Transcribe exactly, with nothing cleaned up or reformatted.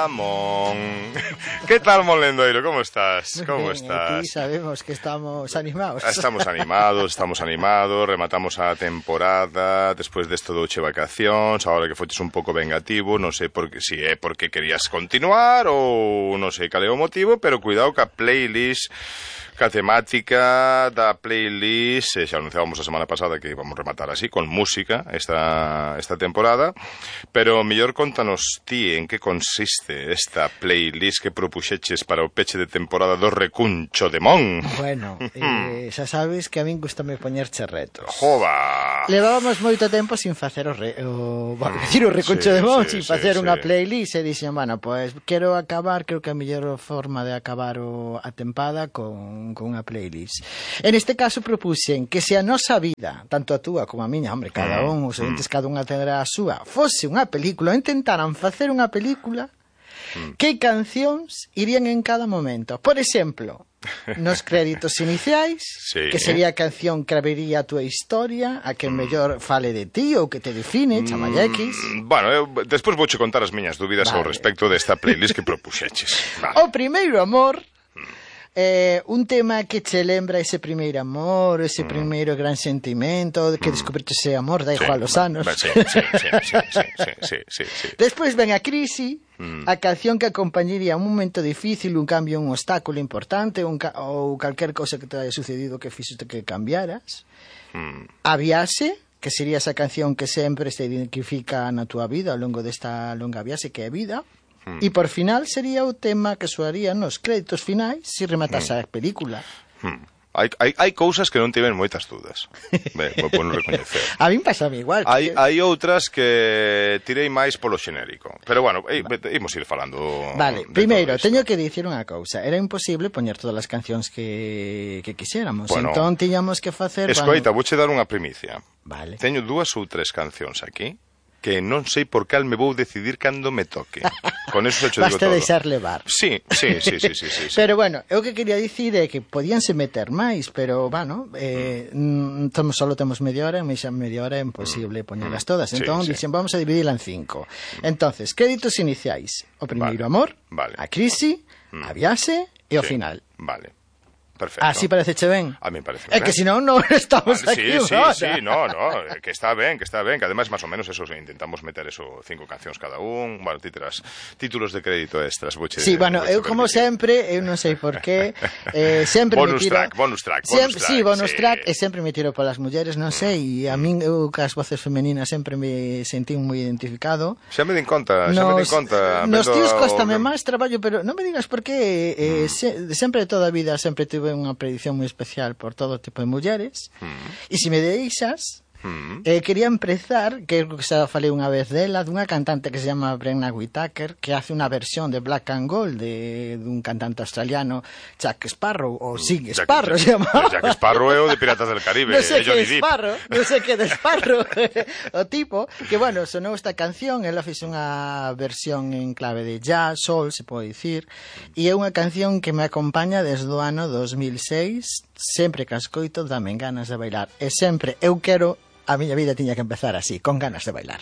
Mon. ¿Qué tal, Monlendoiro? ¿Cómo estás? ¿Cómo Bien, estás? aquí sabemos que estamos animados. Estamos animados, estamos animados, rematamos a temporada despois desto do che vacacións, agora que foches un pouco vengativo, non sei por que, si é porque querías continuar ou non sei cal é o motivo, pero cuidado ca playlist, ca temática da playlist, xa anunciábamos a semana pasada que íbamos rematar así, con música esta, esta temporada, pero mellor contanos ti en que consiste esta playlist que propuxeches para o peche de temporada do Recuncho de Mon. Bueno, eh, xa sabes que a min gustame poñerche retos. Jova! Levábamos moito tempo sin facer o, re, o, bueno, decir, o Recuncho sí, de Mon, sí, sin sí, facer sí. unha playlist, e dixen, bueno, pues quero acabar, creo que a mellor forma de acabar o, a tempada con, con unha playlist. En este caso propuxen que se a nosa vida, tanto a túa como a miña, hombre, cada un, os entes, cada unha tendrá a súa, fose unha película, intentaran facer unha película, que cancións irían en cada momento. Por exemplo, nos créditos iniciais, sí, que sería a canción que abriría a túa historia, a que mellor fale de ti ou que te define, chamalle X. Mm, bueno, eu despois vouche contar as miñas dúbidas vale. ao respecto desta playlist que propuxeches. Vale. O primeiro amor, eh, un tema que che lembra ese primeiro amor, ese mm. primeiro gran sentimento, que mm. descubriste ese amor, da igual sí, os anos. Sí, sí, sí, sí, sí, sí, sí, sí, sí. Despois ven a crise, mm. a canción que acompañaría un momento difícil, un cambio, un obstáculo importante, un ca ou calquer cosa que te haya sucedido que fixiste que cambiaras. Mm. A viaxe, que sería esa canción que sempre se identifica na túa vida ao longo desta longa viaxe que é vida. Mm. E por final sería o tema que soaría nos créditos finais se rematase mm. a película. Mm. Hai, hai, hai cousas que non tiven moitas dudas. Ben, vou pono recoñecer. A min pasame igual. Hai, que... hai outras que tirei máis polo xenérico. Pero bueno, imos ir falando. Vale, primeiro, teño que dicir unha cousa. Era imposible poñer todas as cancións que, que quixéramos. Bueno, entón tiñamos que facer... Escoita, bueno... vouche dar unha primicia. Vale. Teño dúas ou tres cancións aquí que non sei por cal me vou decidir cando me toque. Con eso se cho digo Basta todo. deixar levar. Sí, sí, sí, sí, sí, sí, sí. Pero bueno, eu que quería dicir é que podíanse meter máis, pero, bueno, eh, mm. solo temos media hora, e xa media hora é imposible mm. poñelas todas. Entón, sí, dixen, sí. vamos a dividila en cinco. Entonces, créditos iniciais. O primeiro vale. amor, vale. a crise, mm. a viaxe e o sí. final. Vale. Perfecto. Así parecheche ben? A mí parece ben. É que senón non estamos vale, aquí sí, ahora. Sí, sí, no, no, que está ben, que está ben, que además más o menos eso, intentamos meter eso, cinco cancións cada un, bueno, títulos, títulos de crédito extras. Buche, sí, bueno, eu como sempre, eu non sei por qué, eh, sempre bonus me tiro... Track, bonus track, bonus sempre, track. Sí, bonus sí. track, e sempre me tiro polas mulleres, non sei, e a min, eu, cas voces femeninas, sempre me sentí moi identificado. Xa me din conta, xa nos, me din conta. Nos tíos costame máis traballo, pero non me digas por qué, eh, mm. se, sempre toda a vida sempre tuve unha predicción moi especial por todo tipo de mulleres mm. e se me deixas mm. eh, quería empezar, que xa falei unha vez dela, dunha cantante que se chama Brenna Whitaker, que hace unha versión de Black and Gold de, dun cantante australiano, Jack Sparrow ou Sig Jack, Sparrow Jack, se chama. Jack Sparrow é o de Piratas del Caribe. Non sei que de Sparrow, non sei que de Sparrow o tipo, que bueno, sonou esta canción, ela fixe unha versión en clave de jazz, soul, se pode dicir, e é unha canción que me acompaña desde o ano dos mil seis, sempre que a escoito dame ganas de bailar, e sempre eu quero, a miña vida tiña que empezar así, con ganas de bailar.